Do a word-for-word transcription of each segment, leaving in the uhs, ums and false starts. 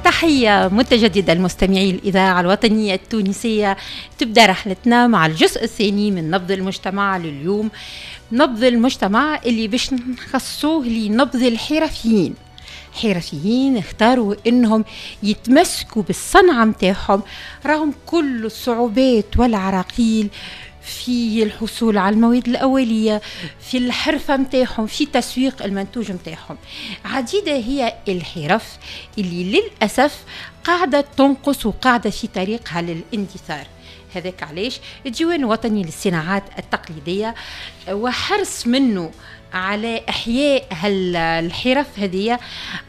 تحية متجددة لمستمعي الإذاعة الوطنية التونسية. تبدأ رحلتنا مع الجزء الثاني من نبض المجتمع لليوم، نبض المجتمع اللي باش نخصوه لنبض الحرفيين. حرفيين اختاروا انهم يتمسكوا بالصنعة متاعهم رغم كل الصعوبات والعراقيل في الحصول على المواد الأولية، في الحرفة متاعهم، في تسويق المنتوج متاعهم. عديدة هي الحرف اللي للأسف قاعدة تنقص وقاعدة في طريقها للاندثار. هذاك علاش الديوان الوطني للصناعات التقليدية وحرص منه على إحياء الحرف هذه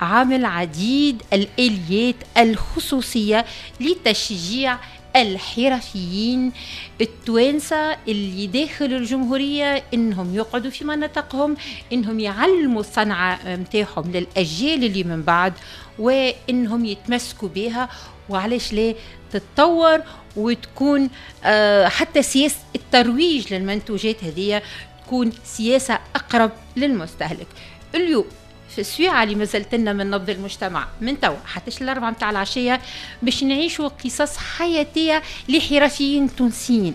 عامل عديد الآليات الخصوصية لتشجيع الحرفيين التوانسة اللي داخل الجمهورية إنهم يقعدوا في مناطقهم، إنهم يعلموا الصنعة متاعهم للأجيال اللي من بعد، وإنهم يتمسكوا بها. وعلاش لا تتطور وتكون آه حتى سياسة الترويج للمنتوجات هذه تكون سياسة أقرب للمستهلك. اليوم في السويعة اللي مازالت لنا من نبض المجتمع من توا حتى الأربعة متاع العشية باش نعيشوا قصص حياتية لحرفيين تونسيين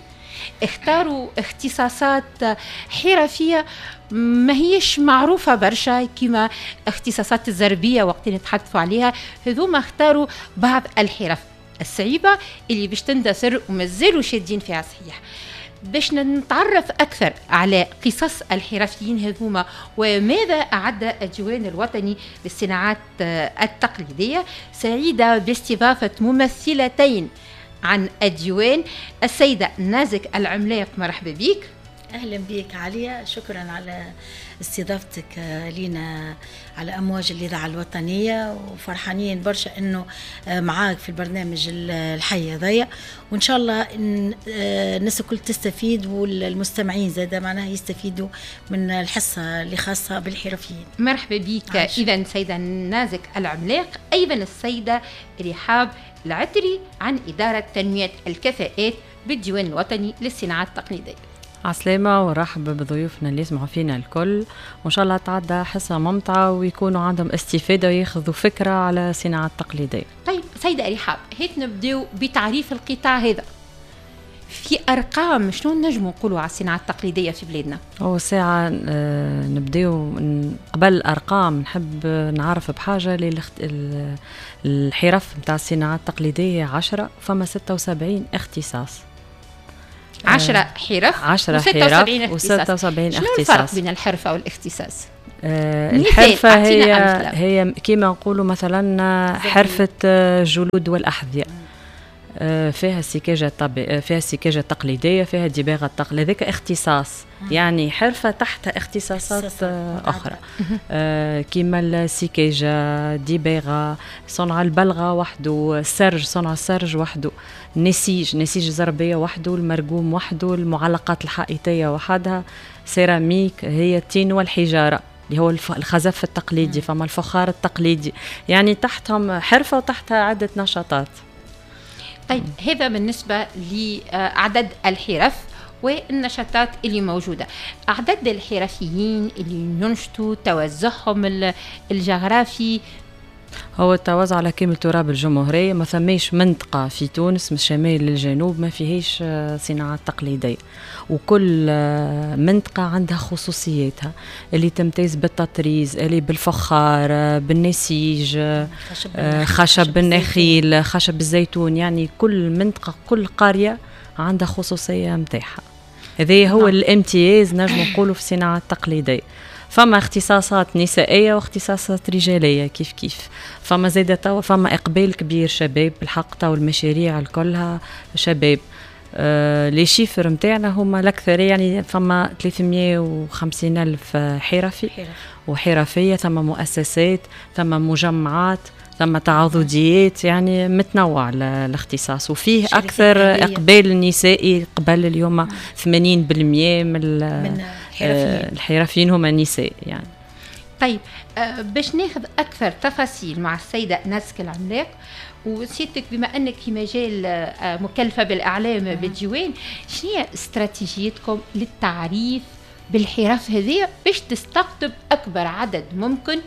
اختاروا اختصاصات حرفية ما هيش معروفة برشا كما اختصاصات الزربية وقت نتحدثوا عليها. هذوما اختاروا بعض الحرف الصعيبة اللي باش تندثر ومازالوا شادين فيها صحيح. باش نتعرف أكثر على قصص الحرفيين هذوما وماذا أعد الديوان الوطني للصناعات التقليدية، سعيدة باستضافة ممثلتين عن الديوان، السيدة نازك العملاق، مرحبا بك. أهلا بك عليا، شكرا على استضافتك لنا على أمواج الإذاعة الوطنية، وفرحانين برشا أنه معاك في البرنامج الحي هذايا، وإن شاء الله إن الناس الكل تستفيد والمستمعين زادة معناها يستفيدوا من الحصة اللي خاصة بالحرفيين. مرحبا بك. إذا سيدة نازك العملاق، أيضا السيدة رحاب العتري عن إدارة تنمية الكفاءات بالديوان الوطني للصناعات التقليدية. عسلامة ورحب بضيوفنا اللي يسمعوا فينا الكل، وإن شاء الله تعدى حصة ممتعة ويكونوا عندهم استفادة وياخذوا فكرة على الصناعة التقليدية. طيب سيدة رحاب، هيك نبداو بتعريف القطاع هذا في أرقام، شنو نجموا نقولوا على الصناعة التقليدية في بلادنا؟ هو ساعة نبداو قبل الأرقام نحب نعرف بحاجة اللي الحرف نتاع الصناعة التقليدية عشرة، فما ستة وسبعين اختصاص. عشرة حرف عشرة حرف وستة وسبعين اختصاص. شنو الفرق بين الحرفة والاختصاص؟ آه الحرفة هي هي كما نقولوا مثلا حرفة الجلود والأحذية، آه فيها السكاجة الطبي... فيها السكاجة التقليدية، فيها الدباغة التقليدية، هذاك اختصاص. يعني حرفة تحتها اختصاصات أخرى آه كما السكاجة، الدباغة، صنع البلغة وحده، السرج، صنع السرج وحده، النسيج، نسيج الزربية وحده، المرقوم وحده، المعلقات الحائطية وحدها، سيراميك هي التين والحجارة اللي هو الخزف التقليدي، فما الفخار التقليدي، يعني تحتهم حرفة وتحتها عدة نشاطات. طيب هذا بالنسبة لعدد الحرف والنشاطات اللي موجودة. أعداد الحرفيين اللي ينشطوا، توزعهم الجغرافي؟ هو التوزع على كامل تراب الجمهورية، ما ثماش منطقة في تونس من الشمال للجنوب ما فيهاش صناعات تقليدية، وكل منطقة عندها خصوصياتها اللي تمتاز بالتطريز، اللي بالفخار، بالنسيج، خشب النخيل، خشب الزيتون، يعني كل منطقة كل قرية عندها خصوصية متاعها. هذا هو الامتياز نجم نقولوا في الصناعة التقليدية. فما اختصاصات نسائية واختصاصات رجالية كيف كيف، فما زادة توا فما إقبال كبير شباب بالحق، توا المشاريع الكلها شباب. آه les chiffres نتاعنا هما الأكثر، يعني فما ثلاثمية وخمسين ألف حرفي وحرفية، ثم مؤسسات، ثم مجمعات، ثم تعاضديات، يعني متنوع الاختصاص، وفيه أكثر إقبال نسائي قبل اليوم ثمانين بالمية من, من الحرفيين هما نساء يعني. طيب باش ناخذ أكثر تفاصيل مع السيدة نازك العملاق، وسيدتك بما أنك في مجال مكلفة بالإعلام بالديوان، شنو هي استراتيجيتكم للتعريف بالحرف هذه باش تستقطب أكبر عدد ممكن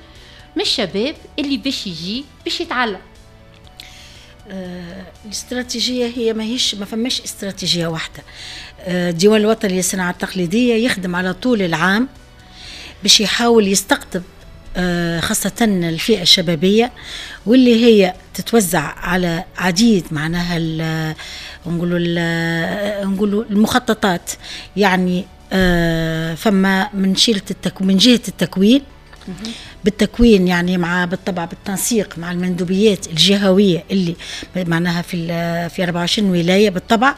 من الشباب اللي باش يجي باش يتعلم؟ آه الاستراتيجية هي ماهيش، ما فماش استراتيجية واحدة. آه الديوان الوطني للصناعة التقليدية يخدم على طول العام باش يحاول يستقطب آه خاصة الفئة الشبابية، واللي هي تتوزع على عديد معناها نقولوا نقولوا المخططات. يعني آه فما من شيلة التكوين، من جهة التكوين، بالتكوين يعني مع بالطبع بالتنسيق مع المندوبيات الجهوية اللي معناها في في أربعة وعشرين ولاية بالطبع،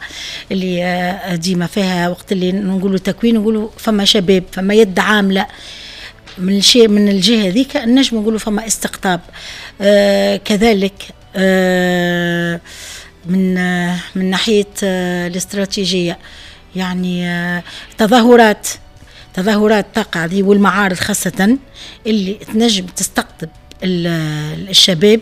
اللي ديما فيها وقت اللي نقولوا تكوين نقولوا فما شباب، فما يد عامله من شيء من الجهة هذيك، نجم نقولوا فما استقطاب. آه كذلك آه من آه من ناحية آه الاستراتيجية، يعني آه تظاهرات تظاهرات تقع دي والمعارض خاصة اللي تنجم تستقطب الشباب،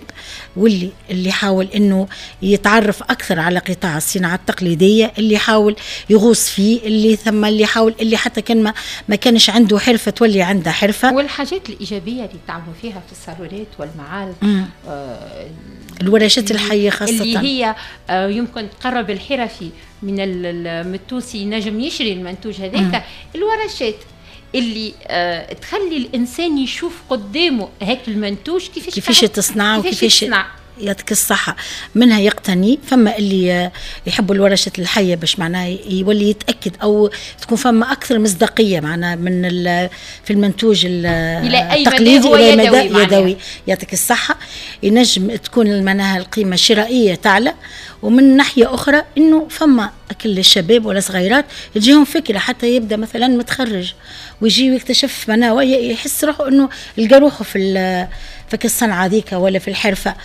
واللي اللي يحاول انه يتعرف اكثر على قطاع الصناعة التقليدية، اللي يحاول يغوص فيه، اللي ثم اللي يحاول اللي حتى كان ما, ما كانش عنده حرفه تولي عنده حرفه. والحاجات الايجابية اللي تعملوا فيها في الصالونات والمعارض، آه الورشات الحية خاصة اللي هي آه يمكن تقرب الحرفي من التونسي نجم يشري المنتوج هذاك، الورشات اللي آه تخلي الانسان يشوف قدامه هاك المنتوج كيفاش كيفاش تصنع وكيفاش يعطيك الصحة، منها يقتني. فما اللي يحبوا الورشات الحية باش معناها يولي يتأكد أو تكون فما أكثر مصداقية معناها من في المنتوج التقليدي إلى مدى يدوي. يعطيك الصحة، ينجم تكون معناها القيمة الشرائية تعلى. ومن ناحية أخرى إنه فما كل الشباب ولا صغيرات تجيهم فكرة، حتى يبدأ مثلا متخرج ويجي ويكتشف معناها ويحس روحه إنه لقى روحه في في الصنعة ذيك ولا في الحرفة.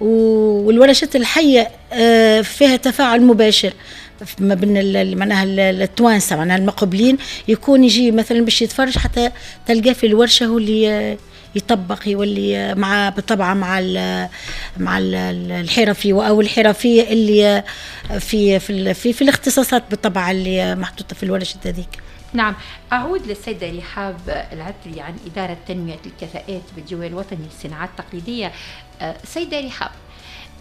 والورشات الحية فيها تفاعل مباشر ما بين معناها التوانسة معناها المقبلين، يكون يجي مثلا باش يتفرج حتى تلقاه في الورشة هو اللي يطبق، يولي مع بالطبع مع ال مع ال الحرفي او الحرفية اللي في في في, في الاختصاصات بالطبع اللي محطوطة في الورشة هذيك. نعم، أعود للسيدة رحاب العتري عن إدارة تنمية الكفاءات بالديوان الوطني للصناعات التقليدية. سيدة رحاب،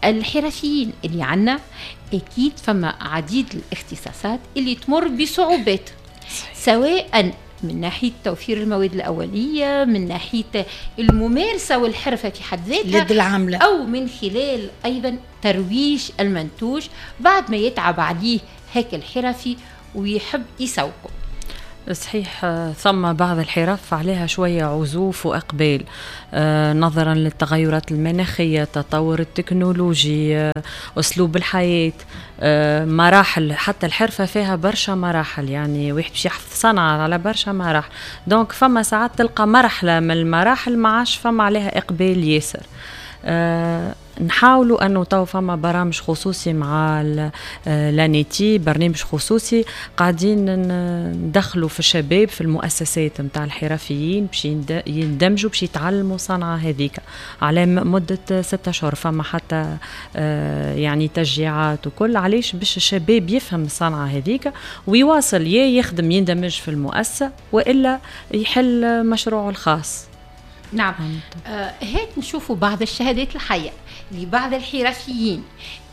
الحرفيين اللي عنا أكيد فما عديد الاختصاصات اللي تمر بصعوبات، سواء من ناحية توفير المواد الأولية، من ناحية الممارسة والحرفة في حد ذاتها، اليد العاملة، أو من خلال أيضا ترويج المنتوج بعد ما يتعب عليه هيك الحرفي ويحب يسوقه. صحيح، ثم بعض الحرف عليها شوية عزوف وإقبال نظرا للتغيرات المناخية، التطور التكنولوجي، أسلوب الحياة، مراحل، حتى الحرفة فيها برشا مراحل، يعني واحد باش يحفظ صنعة على برشا مراحل، donc فما ساعات تلقى مرحلة من المراحل ما عادش فما عليها إقبال ياسر. أه نحاولوا انه تو فما برامج خصوصي مع l'ANETI، برنامج خصوصي قاعدين ندخلوا في الشباب في المؤسسات نتاع الحرفيين باش يندمجوا باش يتعلموا صنعه هذيك على مده ستة اشهر، فما حتى يعني تشجيعات وكل، علاش؟ باش الشباب يفهم الصنعة هذيك ويواصل يا يخدم يندمج في المؤسسة والا يحل مشروعه الخاص. نعم، آه هات نشوفوا بعض الشهادات الحية لبعض الحرفيين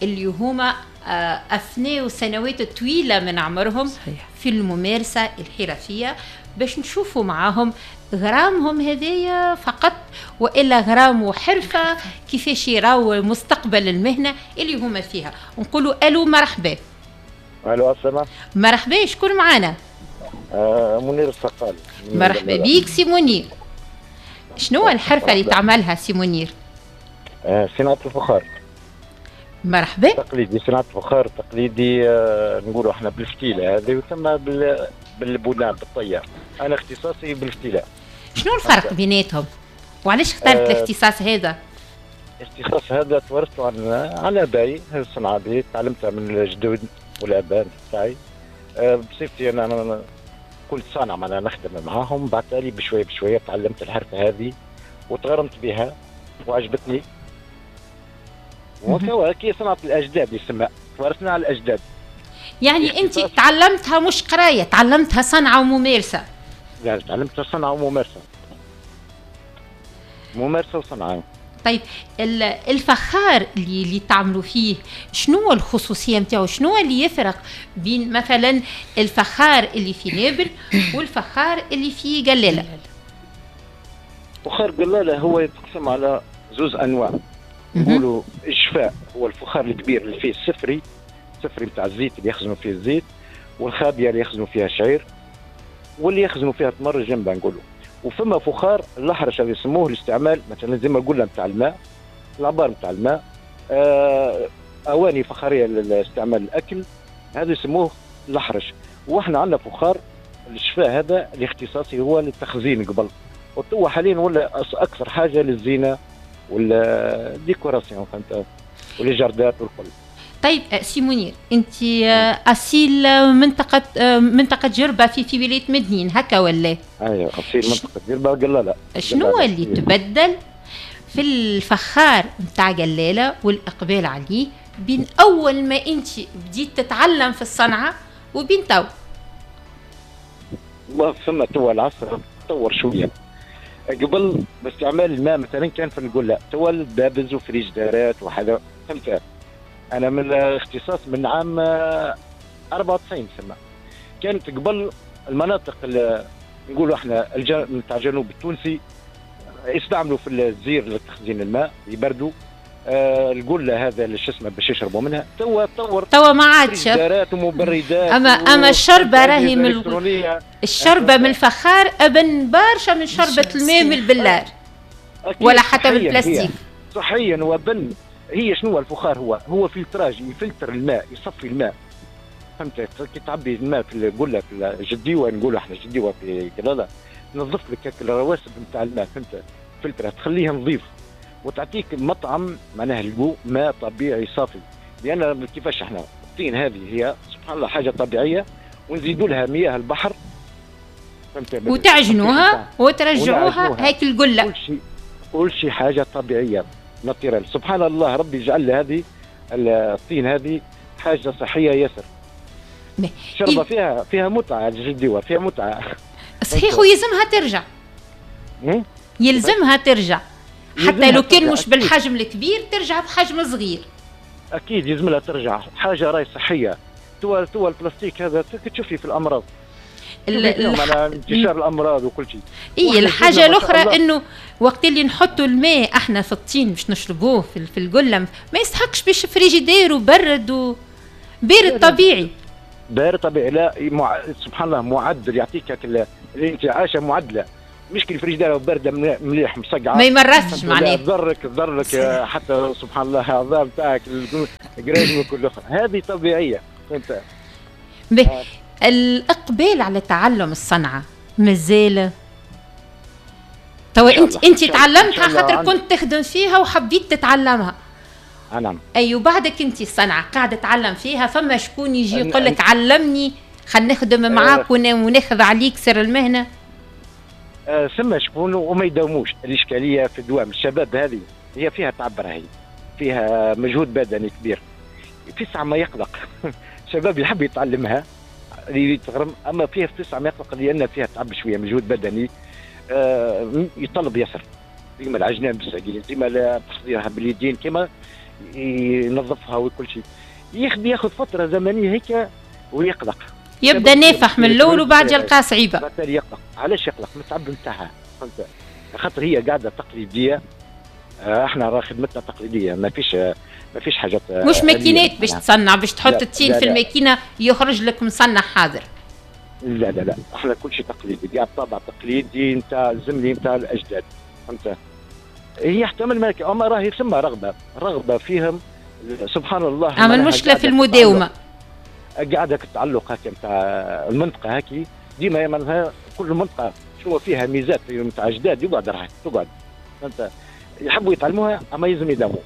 اللي هما آه أفنوا سنوات طويلة من عمرهم صحيح. في الممارسة الحرفية، باش نشوفوا معاهم غرامهم هذايا فقط وإلا غرام وحرفة، كيفاش يراو مستقبل المهنة اللي هما فيها. نقولوا ألو مرحبا. ألو السلام. مرحبا، شكون معانا؟ آه منير الصقالي. مرحبا بيك سي منير. شنو الحرفة اللي تعملها سي منير؟ آه صناعة الفخار. مرحبا. تقليدي، صناعة الفخار تقليدي، آه نقولوا احنا بالفتيلة هذه وثم بال بالبناء بالطيار. أنا اختصاصي بالفتيلة. شنو الفرق بيناتهم؟ وعلاش اخترت آه الاختصاص هذا؟ الاختصاص هذا تورثته عن عن آبائي، الصنعة هذه تعلمتها من الجدود والآباء تاعي. آه بصفتي أنا, أنا كنت صانع معناها نخدم معاهم، بعد تالي بشوية بشوية تعلمت الحرفة هذه وتغرمت بها وعجبتني. وكوا كي صنعة الأجداد يسمى، تورثنا على الأجداد. يعني أنت تعلمتها مش قراية، تعلمتها صنعة وممارسة. لا، تعلمتها صنعة وممارسة. ممارسة وصنعة. طيب الفخار اللي اللي تعملوا فيه شنو الخصوصية نتاعو؟ شنو اللي يفرق بين مثلا الفخار اللي في نابل والفخار اللي في قلاله؟ فخار قلاله هو يتقسم على زوز انواع. نقولوا الشفاء هو الفخار الكبير اللي فيه السفري، السفري نتاع الزيت اللي يخزنوا فيه الزيت، والخابيه اللي يخزنوا فيها الشعير، واللي يخزنوا فيها تمر الجنبه نقولوا. وفما فخار الاحرش اللي يسموه الاستعمال مثلا زي ما قلنا نتاع الماء، العبار نتاع الماء، آه، اواني فخاريه لاستعمال الاكل، هذا يسموه الاحرش. واحنا عندنا فخار الشفاء هذا الاختصاصي هو للتخزين قبل، وتوا حاليا ولا اكثر حاجة للزينة وال décoration، فهمت، ولي جاردات والكل. طيب سي منير، انت اصيل منطقة منطقة جربه في في ولاية مدنين هكا ولا؟ ايوه اصيل منطقة جربه قلاله. شنو اللي تبدل في الفخار نتاع قلاله والاقبال عليه بين اول ما انت بديت تتعلم في الصنعة وبين تو؟ والله فما توا العصر تطور شوية. قبل باستعمال الماء مثلا كان في القلة، توا الدابز وفريجدارات وحاجه، فهمت. انا من الاختصاص من عام أربعة وتسعين سنة. كانت قبل المناطق اللي نقولوا احنا نتاع الجنوب التونسي يستعملوا في الزير لتخزين الماء يبردوا، آه القلة هذا اللي شو اسمه باش يشربوا منها. توا تطور، توا ما عادش فریجدارات ومبردات. اما اما الشربه راهي من الشربه من الفخار ابن برشا من شربه الماء من البلار ولا حتى من البلاستيك. صحيا وبن. هي شنو الفخار؟ هو هو filtrage، يفلتر الماء، يصفي الماء، فهمت. كي تعبي الماء في القلة في الجديوه، نقولوا احنا جديوه في قلاله، تنظف لك الرواسب نتاع الماء، فهمت، فلترها تخليها نظيف وتعطيك مطعم معناها الجو ماء طبيعي صافي. لان كيفاش احنا الطين هذه هي سبحان الله حاجة طبيعية، ونزيدوا لها مياه البحر، فهمت، وتعجنوها وترجعوها هيك القلة. كل شيء كل شيء حاجة طبيعية naturelle. سبحان الله ربي جعل هذه الطين هذه حاجة صحية ياسر. شربه فيها فيها متعه الجديوه، فيها متعه. صحيح، ويلزمها ترجع. يلزمها ترجع حتى لو كان مش بالحجم الكبير ترجع بحجم صغير. اكيد يلزم لها ترجع، حاجة راهي صحية. توا توا البلاستيك هذا تشوفي في الامراض، على انتشار الامراض وكل شيء. اي الحاجة الاخرى انه وقت اللي نحطوا الماء احنا في الطين باش نشربوه في, في القلة ما يستحقش باش فريجيدير وبرد و... بارد طبيعي. بارد طبيعي، لا مع... سبحان الله معدل، يعطيك الانتعاشه معدله، مش كي الفريجيدير باردة مليح مصقعه ما يمرسش معناها، تضرك تضرك حتى سبحان الله العظام تاعك القراجم وكل اخرى، هذه طبيعية، فهمت. آه. الاقبال على تعلم الصنعة مازال توا؟ انت انت تعلمتها خاطر كنت تخدم فيها وحبيت تتعلمها. نعم. اي وبعدك انت الصنعة قاعدة تتعلم فيها، فما شكون يجي يقول لك علمني خلينا نخدم معاك وناخذ عليك سر المهنة؟ آه ثم شكون وما يداوموش. الاشكالية في الدوام الشباب هذه هي فيها تعب، راهي فيها مجهود بدني كبير، في ساعة ما يقلق. الشباب يحب يتعلمها يتغرم، اما فيها في تسعة ما يقلق لان فيها تعب شوية مجهود بدني، آه يطلب ياسر، كيما العجنان بالساقين، كيما تحضيرها باليدين، كيما ينظفها وكل شيء، ياخذ ياخذ فترة زمنية هيك ويقلق، يبدا نافح من الاول وبعد يلقى صعيبة. بعد يقلق. علاش يقلق؟ من التعب نتاعها، فهمت، خاطر هي قاعدة تقليدية. احنا راه خدمتنا تقليدية، ما فيش ما فيش حاجات، مش ماكينات باش تصنع، باش تحط التين في الماكينة يخرج لك مصنع حاضر. لا لا لا، احنا كل شيء تقليدي، قاعد طابع تقليدي نتاع الزمني نتاع الاجداد، فهمت. هي يحتمل مالك، اما راهي ثم رغبة، رغبة فيهم سبحان الله. اما المشكلة في المداومة، قاعدة التعلق هكا نتاع المنطقة هكي ديما معناها كل منطقة شنو فيها ميزات نتاع اجداد يقعد راح تقعد، فهمت. يحبوا يتعلموها اما يلزم يداوموا،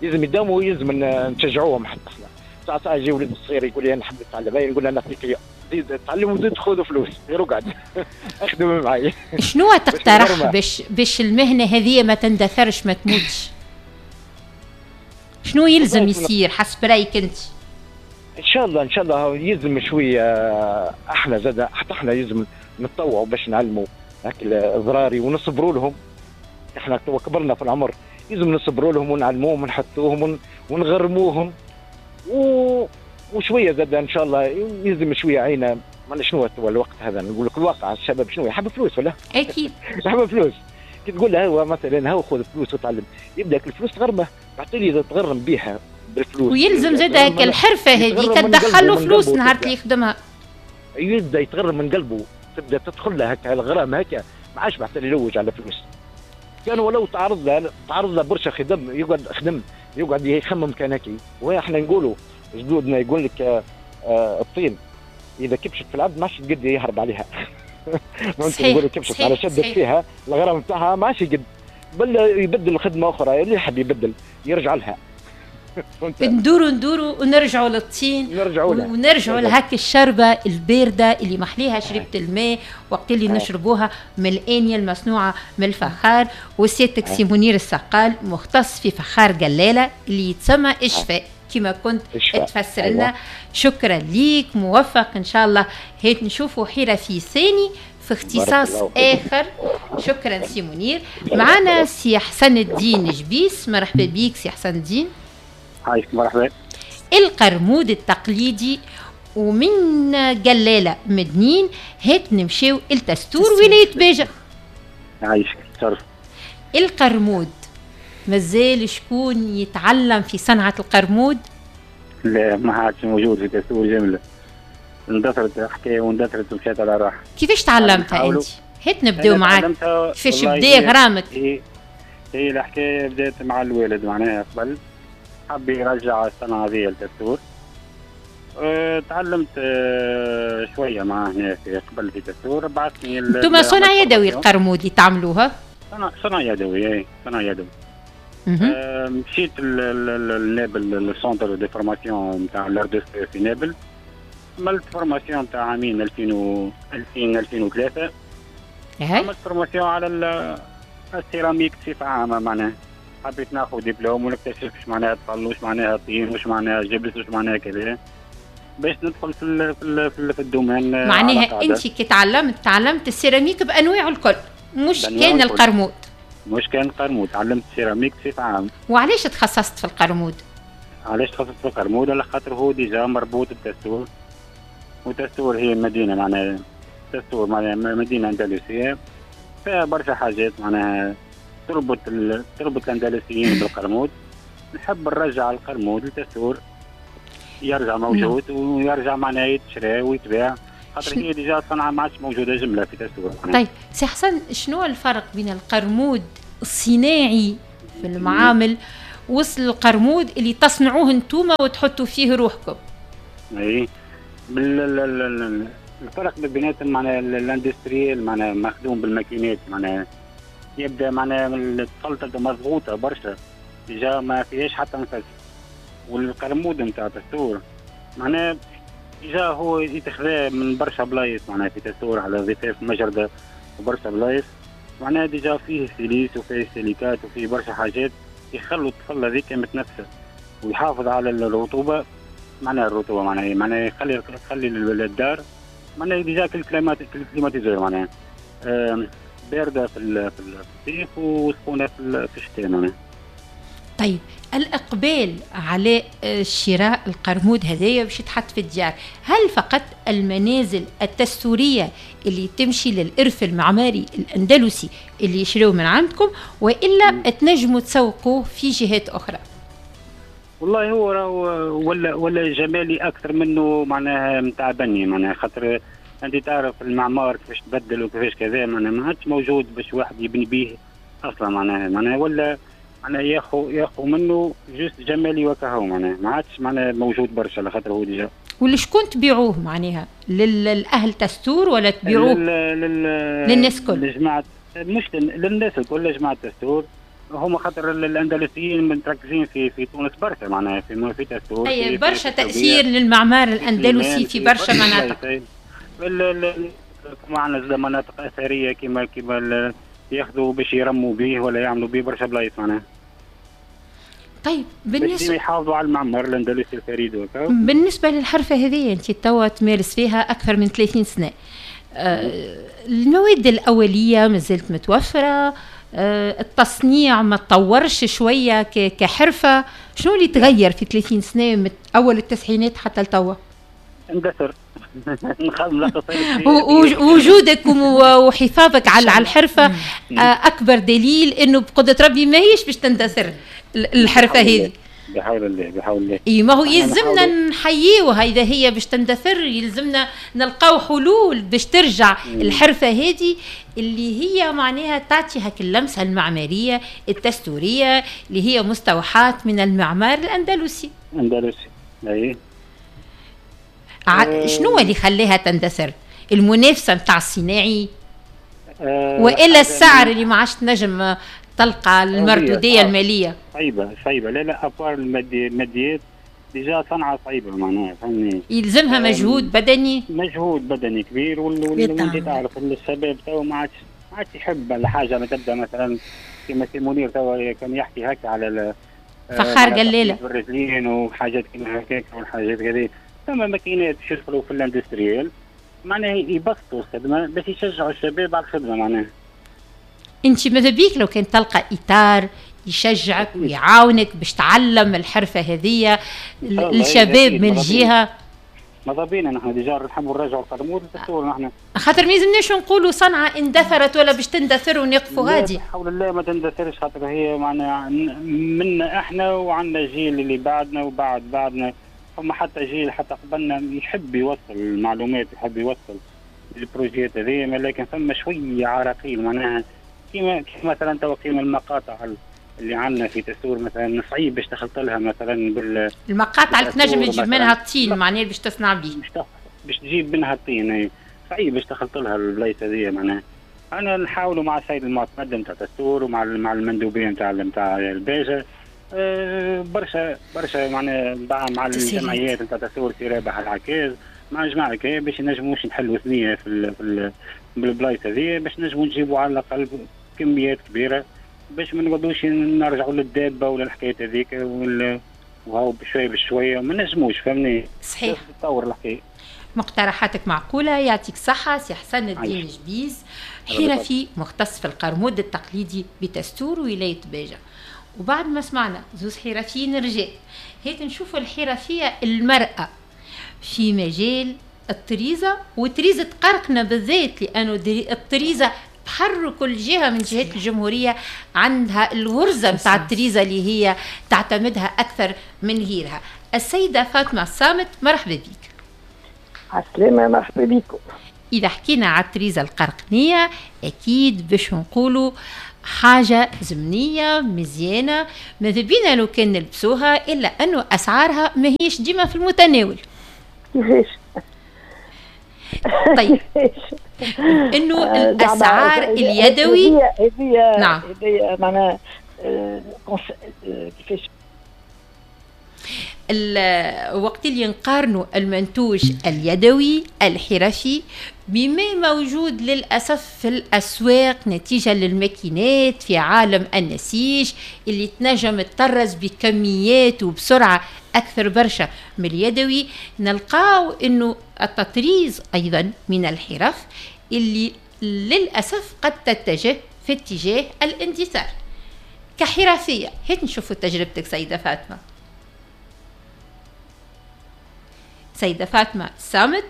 يلزم يداوموا ويلزم نشجعوهم حتى احنا. ساعة ساعة يجي ولد الصغير يقول لي انا نحب نتعلم، نقول له نعطيك زيد تعلم وزيد خذ فلوس، غير اقعد اخدم معي. شنو تقترح باش باش المهنة هذه ما تندثرش ما تموتش؟ شنو يلزم يصير حسب رايك انت؟ ان شاء الله ان شاء الله يلزم شوية احنا زاد حتى احنا يلزم نتطوعوا باش نعلموا هاك الضراري ونصبروا لهم. احنا توا كبرنا في العمر، لازم نصبروا لهم ونعلموهم ونحطوهم ونغرموهم و... وشوية زاد ان شاء الله يلزم شوية عينه. ما شنو هو الوقت هذا، نقول لك الواقع الشباب شنو يحب فلوس ولا؟ اكيد يحب فلوس. كي تقول له هو مثلا هو خذ فلوس وتعلم، يبدا الفلوس تغرمه، بعد اذا تغرم بها بالفلوس ويلزم زاد هيك الحرفة هذيك تدخل له فلوس نهار اللي يخدمها، يبدا يتغرم من قلبه، تبدا تدخل له هكا الغرام هكا، ما عادش بعد يلوج على فلوس. كان ولو تعرض له تعرض له برشا خدم، يقعد خدم يقعد يخمم كان هكي. واحنا نقولوا جدودنا يقول لك آه الطين اذا كبشت في العبد ما عادش تقد يهرب عليها. نقولوا كبشت على شدت فيها الغرام نتاعها ما عادش يقد، بل يبدل خدمة اخرى اللي يحب يبدل يرجع لها. ندوروا ندوروا ونرجعوا للطين، نرجعوا لها ونرجعوا لهاك الشربه البارده اللي محليها شربة الماء وقت اللي نشربوها من الانية المصنوعة من الفخار. وسيادتك سي منير السقال مختص في فخار قلاله اللي يتسمى اشفاء كما كنت تفسر لنا. أيوة. شكرا ليك، موفق ان شاء الله. هات نشوفوا حرفي ثاني في اختصاص اخر. شكرا سي منير. معنا سي حسن الدين جبيس، مرحبا بيك سي حسن الدين. عايشك، مرحبا. القرمود التقليدي ومن قلاله مدنين هات نمشيو التستور ولاية باجة. عايشك، تشرف. القرمود مازال شكون يتعلم في صنعة القرمود؟ لا، ما عادش موجود في تستور جملة. اندثرت الحكاية واندثرت ومشات على روحها. كيفاش تعلمتها أنت؟ هات نبداو معاك. كيفاش بدا غرامك؟ هي هي الحكاية بدات مع الوالد معناها قبل، حب يرجع الصنعة هذه لتستور. أه تعلمت أه شوية معاه هنا في قبل في تستور. بعثني انتم صنع يدوي القرمود اللي تعملوها؟ صنع صنع يدوي، اي صنع يدوي. أه مشيت لنابل، ال centre de formation نتاع l'art de feu في نابل. عملت formation نتاع عامين ألفين و ألفين ألفين وثلاثة. عملت formation على السيراميك بصفة عامة معناها. حبيت ناخذ دبلوم ونكتشف واش معناها طل، واش معناها طين، واش معناها جبس، واش معناها كذا، باش ندخل في ال في ال في, ال في ال domaine. معناها انت كي تعلمت تعلمت السيراميك بانواعه الكل، مش كان القرمود. مش كان القرمود، تعلمت السيراميك بصفة عامة. وعلاش تخصصت في القرمود؟ علاش تخصصت في القرمود؟ على خاطر هو déjà مربوط بتستور، وتستور هي مدينة معناها، تستور معناها مدينة اندلسيه فيها برشا حاجات معناها تربط ال... تربط الاندلسيين بالقرمود. نحب نرجع القرمود لتستور، يرجع موجود ويرجع معناها يتشرى ويتباع، خاطر هي déjà صنعه ما عادش موجودة جملة في تستور. طيب سي حسن، شنو الفرق بين القرمود الصناعي في المعامل وصل القرمود اللي تصنعوه انتوما وتحطوا فيه روحكم؟ اي بال... الفرق بيناتهم معناها ال industriel معناها مخدوم بالماكينات، معناها يبدا معناها الخلطة مضغوطه برشا déjà ما فيهاش حتى نفس. والقرمود نتاع تستور معناها déjà هو يتخذا من برشا بلايص معناها في تستور على ضفاف مجرده وبرشا بلايص، معناها déjà فيه silice وفيه سيليكات وفيه برشا حاجات يخلوا الطفل هذيك متنفسه ويحافظ على الرطوبة. معناها الرطوبة معناها معناها يخلي يخلي الدار معناها déjà كل climatiseur معناها باردة في في الصيف وسخونه في الشتاء معناها. طيب الإقبال على شراء القرمود هذايا باش يتحط في الديار، هل فقط المنازل التستورية اللي تمشي للإرث المعماري الأندلسي اللي يشريوه من عندكم، وإلا تنجموا تسوقوه في جهات أخرى؟ والله هو راهو ولا ولا جمالي أكثر منه معناها نتاع بني، معناها خاطر أنت تعرف المعمار كيفاش تبدل وكيفاش كذا، معناها ما عادش موجود باش واحد يبني به أصلا، معناها معناها ولا معناها ياخو ياخو منه juste جمالي وكهو، معناها ما عادش معناها موجود برشا على خاطر هو déjà. واللي شكون تبيعوه معناها؟ للاهل تستور ولا تبيعوه لل... لل... للناس الكل؟ لجماعة مش للناس الكل، لجماعة تستور هما خاطر الاندلسيين متركزين في في تونس برشا، معناها في في تستور. اي برشا تاثير للمعمار الاندلسي في برشا مناطق. معنا مناطق اثرية كما كما ياخذوا باش يرموا به ولا يعملوا به برشا بلايص معناها. طيب بالنسبة يحافظوا على المعمار الاندلسي الفريد وكا. بالنسبة للحرفه هذه انت توا تمارس فيها اكثر من ثلاثين سنة، آه المواد الاولية مازالت متوفرة، التصنيع ما تطورش شوية كحرفه؟ شنو اللي تغير في ثلاثين سنة من اول التسعينات حتى لتوا؟ اندثر. وجودك وحفاظك على الحرفة اكبر دليل انه بقدره ربي ما هيش باش تندثر الحرفة هذه. بحول الله بحول الله. اي ما هو يلزمنا نحييوها، اذا هي باش تندثر يلزمنا نلقاو حلول باش ترجع مم. الحرفة هذه اللي هي معناها تعطي هاك اللمسة المعمارية التستوريه اللي هي مستوحاة من المعمار الاندلسي. اندلسي اي. ع... شنو اللي خلاها تندثر؟ المنافسة نتاع الصناعي أه والا السعر اللي ما عادش تنجم تلقى المردوديه المالية؟ صعيبة صعيبة، لا لا à part الماديات déjà صنعه صعيبة معناها، فهمني، يلزمها مجهود بدني، مجهود بدني كبير. وانت تعرف الشباب تو ما عادش ما عادش يحب الحاجة ما تبدا مثلا كيما سي منير تو كان يحكي هكا على فخار قليله الرجلين وحاجات كيما هكاك والحاجات هذه. ثم ماكينات باش يدخلوا في ال industriel معناها يبسطوا الخدمة باش يشجعوا الشباب على الخدمة معناها. انت ماذا بيك لو كان تلقى اطار يشجعك ويعاونك باش تعلم الحرفة هذه الشباب من جهة؟ ماذا بينا نحن déjà نحبوا نرجعوا القرمود للدستور نحن، خاطر ما يلزمناش نقولوا صنعه اندثرت ولا باش تندثر ونقفوا غادي. بحول الله ما تندثرش، خاطر هي معنا منا احنا وعندنا جيل اللي بعدنا وبعد بعدنا، فما حتى جيل حتى قبلنا يحب يوصل المعلومات، يحب يوصل ال projets هذه، لكن فما شوية عراقيل معناها كيما كيف مثلا تو كيما المقاطع اللي عندنا في تسور مثلا صعيب باش تخلط لها مثلا بال المقاطع اللي تنجم تجيب منها الطين معناها باش تصنع به، باش تجيب منها الطين صعيب باش تخلط لها البلايص هذه معناها. انا نحاولوا مع السيد المعتمد نتاع تسور ومع مع المندوبين نتاع نتاع الباجه أه برشا برشا معناها مع الجمعيات نتاع تسور في رابح العكاز مع جماعة كي باش نجموش نحلوا ثنيه في في بالبلايص هذه باش نجموا نجيبوا على الاقل كميات كبيرة باش ما نقعدوش نرجعوا للدابة ولا الحكاية هذيك وهاو بشوية بشوية ما نجموش، فهمني؟ صحيح. تطور الحكاية. مقترحاتك معقولة، يعطيك صحة سي حسن الدين جبيز، حرفي مختص في القرمود التقليدي بتستور ولاية باجه. وبعد ما سمعنا زوز حرفيين رجال، هيك نشوفوا الحرفية المراة في مجال الطريزه، وطريزه قرقنا بالذات لانه الطريزه بحر كل جهة من جهات الجمهورية عندها الورزه نتاع الطريزه اللي هي تعتمدها اكثر من غيرها. السيدة فاطمة الصامت، مرحبا بك. عسلامة، مرحبا بكم. اذا حكينا على الطريزه القرقنيه اكيد باش نقولوا حاجة زمنية مزيانه، ماذا بينا لو كان نلبسوها، الا انه اسعارها ماهيش ديما في المتناول. كيفاش؟ طيب انه الاسعار اليدوي هذه نعم هذه معناها كيفاش وقت اللي نقارنوا المنتوج اليدوي الحرفي بما موجود للأسف في الأسواق نتيجة للماكينات في عالم النسيج اللي تنجم تطرز بكميات وبسرعة أكثر برشا من اليدوي، نلقاو أنه التطريز أيضا من الحرف اللي للأسف قد تتجه في اتجاه الاندثار كحرفية. هيك نشوفوا تجربتك سيدة فاطمة. سيدة فاطمة صامت.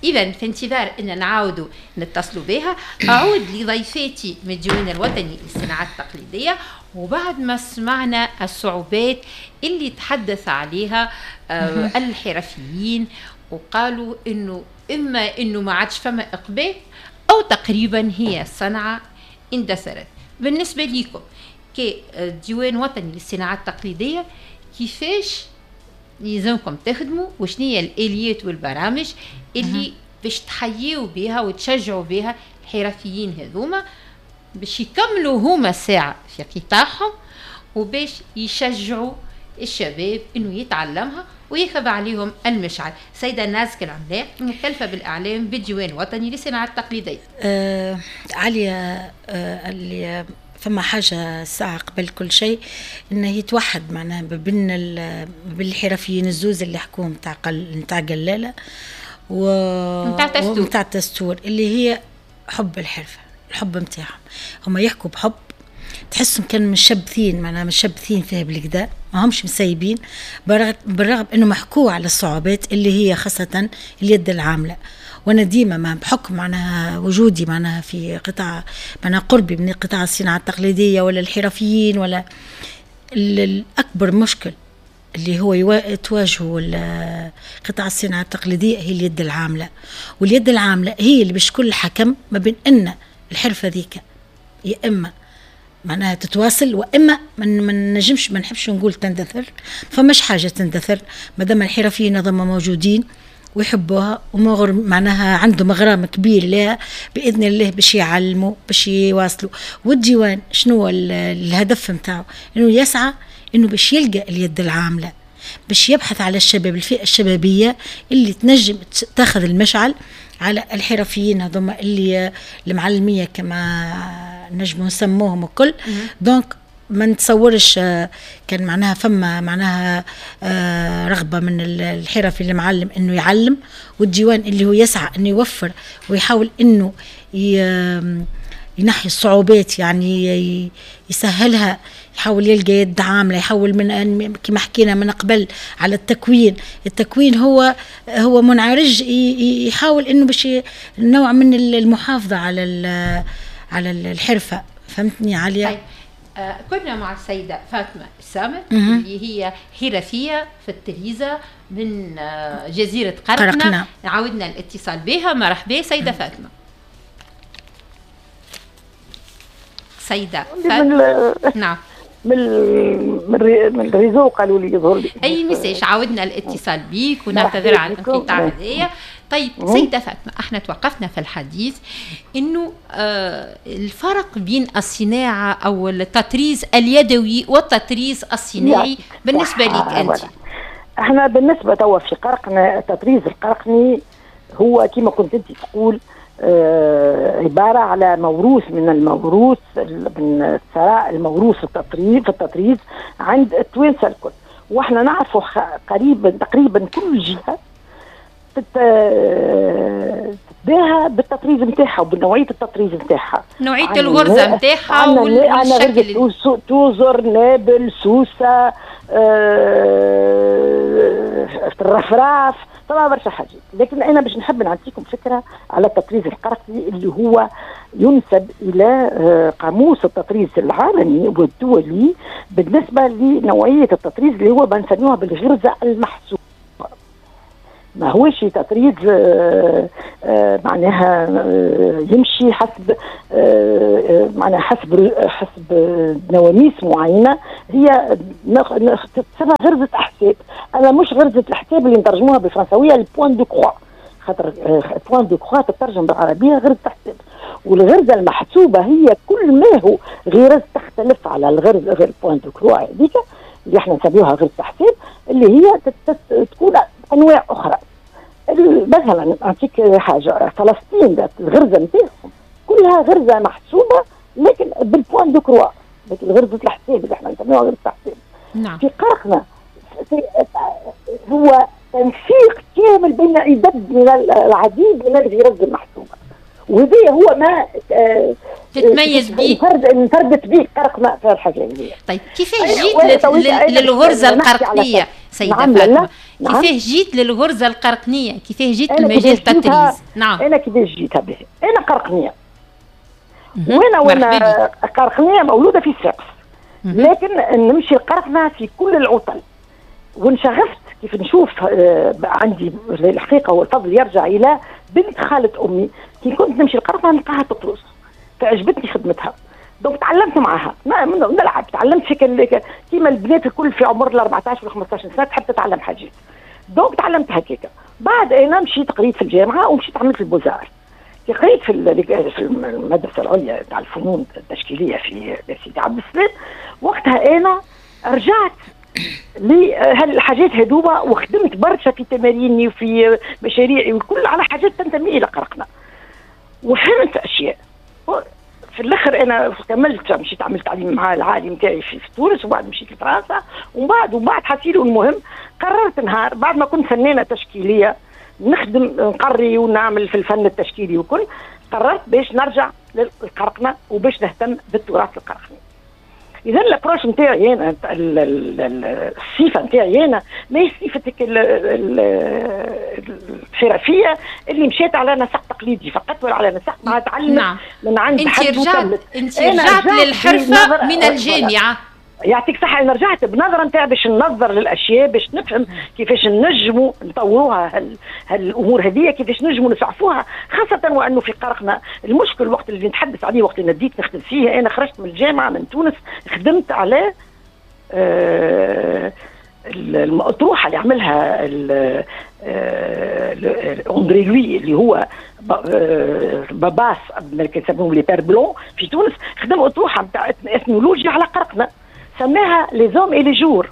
إذا في انتظار أن نعاودوا نتصلوا بها، أعود لضيفاتي من الديوان الوطني للصناعات التقليدية. وبعد ما سمعنا الصعوبات اللي تحدث عليها الحرفيين وقالوا إنه إما إنه ما عادش فما إقبال أو تقريبا هي الصنعة اندثرت. بالنسبة لكم كديوان وطني للصناعات التقليدية كيفاش يلزمكم تخدموا وشنو هي الاليات والبرامج اللي باش تحيوا بها وتشجعوا بها الحرفيين هذوما باش يكملوا هما ساعة في قطاعهم وباش يشجعوا الشباب انه يتعلمها وياخذ عليهم المشعل. سيدة نازك العملاق مكلفة بالإعلام بالديوان الوطني للصناعة التقليدية. آه عليا آه اللي فما حاجة الساعة قبل كل شيء إنه يتوحد معناها بين بين الحرفيين الزوز اللي حكوهم نتاع قل نتاع قلالة و نتاع تستور اللي هي حب الحرفة. الحب نتاعهم، هما يحكوا بحب، تحسهم كانوا مشبثين، معناها مشبثين فيها بالكدا، ما همش مسيبين، بالرغم انه محكوا على الصعوبات اللي هي خاصة اليد العاملة. وانا ديما ما بحكم معناها وجودي معناها في قطاع معناها قربي من قطاع الصناعة التقليدية ولا الحرفيين ولا الاكبر مشكل اللي هو تواجهه قطاع الصناعة التقليدية هي اليد العاملة، واليد العاملة هي اللي باش كل حكم ما بين ان الحرفة ذيك يا اما معناها تتواصل واما ما نجمش، ما نحبش نقول تندثر، فماش حاجة تندثر مادام الحرفيين هذوما موجودين ويحبوها ومغر معناها عندهم غرام كبير لها باذن الله باش يعلموا باش يواصلوا. والديوان شنو الهدف نتاعو؟ انه يسعى انه باش يلقى اليد العاملة، باش يبحث على الشباب، الفئة الشبابية اللي تنجم تاخذ المشعل على الحرفيين هذوما اللي المعلميه كما نجموا نسموهم الكل. donc ما نتصورش كان معناها فما معناها رغبة من الحرفي المعلم انه يعلم، والديوان اللي هو يسعى انه يوفر ويحاول انه ينحي الصعوبات، يعني يسهلها، يحاول يلقى يد عامله، يحاول من كما حكينا من قبل على التكوين، التكوين هو هو منعرج يحاول انه باش نوع من المحافظة على على الحرفة. فهمتني عليا؟ طيب. آه كنا مع السيدة فاطمة السامت اللي هي حرفية في التريزة من آه جزيرة قرقنة. قرقنة. عاودنا الاتصال بها. مرحبا سيدة فاطمة. سيدة فاطمة. نعم. من من ال réseau قالوا لي يظهر لي اي message. عاودنا الاتصال بيك ونعتذر عن الانقطاع هذايا. طيب سيدة فاطمة، احنا توقفنا في الحديث انه آه الفرق بين الصناعة او التطريز اليدوي والتطريز الصناعي بالنسبة لك انت. احنا بالنسبة توا في قرقنة، التطريز القرقني هو كما كنت انت تقول آه عبارة على موروث من الموروث، من الثراء الموروث التطريز في التطريز عند التوانسة الكل. واحنا نعرفوا قريبا تقريبا كل جهة تتباهى بالتطريز نتاعها وبنوعيه التطريز نتاعها، نوعية الغرزه نتاعها والشكل. توزر، نابل، سوسة، آه، الرفراف، طبعا برشا حاجات. لكن انا باش نحب نعطيكم فكرة على التطريز القرقني اللي هو ينسب الى قاموس التطريز العالمي والدولي بالنسبة لنوعيه التطريز اللي هو بنسميوها بالغرزه المحسوبه. ما هوش تطريز آه، آه، معناها آه، يمشي حسب معناها حسب حسب نواميس معينة، هي تسمى غرزه احساب. انا مش غرزه الحساب اللي نترجموها بالفرنساويه ال point de croix، خاطر point de croix تترجم بالعربية غرزه حساب، والغرزه المحسوبه هي كل ما هو غرز تختلف على الغرزه غير point de croix هذيك اللي احنا نسميوها غرزه حساب، اللي هي تكون انواع اخرى. مثلا نعطيك حاجة، فلسطين الغرزه نتاعهم كلها غرزه محسوبة لكن بال point de croix، لكن غرزه الحساب اللي احنا نسميوها غرزه الحساب. نعم. في قرقنة هو تنسيق كامل بين عدد من العديد من الغرز المحسوبه، وهذا هو ما تتميز به، انفردت به قرقنة في الحاجة هذه. طيب كيفاش جيت للغرزه القرقنيه سيدة نعم فاطمة؟ نعم. كيفاه جيت للغرزه القرقنيه؟ كيفاه جيت لمجال التطريز؟ نعم. انا كيفاش جيتها به؟ انا قرقنيه، وانا وانا قرقنيه مولودة في صفاقس، لكن نمشي القرقنه في كل العطل، وانشغفت كيف نشوف. آه عندي الحقيقة والفضل يرجع الى بنت خاله امي، كي كنت نمشي القرقنه نلقاها تطرز، فعجبتني خدمتها، donc تعلمت معاها، نلعب، تعلمت في كيما البنات الكل في عمر ال أربعطاش ولا خمسطاش سنة تحب تتعلم حاجات، donc تعلمت هكاك. بعد انا مشيت قريت في الجامعة ومشيت عملت ال beaux-arts، كي قريت في في المدرسة العليا تاع الفنون التشكيليه في سيدي عبد السلام، وقتها انا رجعت لهالحاجات هذوما وخدمت برشا في تماريني وفي مشاريعي والكل على حاجات تنتمي الى قرقنة، وفهمت اشياء. في الاخر انا كملت، مشيت عملت تعليم مع العالي نتاعي في تونس، وبعد مشيت لفرنسا، ومن بعد وبعد حسيلو. المهم قررت نهار بعد ما كنت فنانة تشكيليه نخدم نقري ونعمل في الفن التشكيلي وكل، قررت باش نرجع للقرقنه وباش نهتم بالتراث القرقني. اذا l'approche نتاعي انا، الصفة نتاعي انا ماهيش صفتك الحرفية اللي مشيت على نسق تقليدي فقط ولا على نسق ما تعلمت. نعم. من عند انت رجعت انت رجعت للحرفه من الجامعة. يعطيك صحة. أنا رجعت بنظرة نتاع باش ننظر للأشياء، باش نفهم كيفاش نجموا نطوروها هال هالأمور هذه، كيفاش نجموا نسعفوها، خاصة وأنه في قرقنا المشكل وقت اللي نتحدث عليه وقت اللي نديت نخدم فيه. أنا خرجت من الجامعة من تونس، خدمت على آه الأطروحة اللي عملها أندري لوي اللي هو باباس كيسموهم les pères blancs في تونس، خدم أطروحة نتاع اثنولوجيا على قرقنا سماها les hommes et les jours،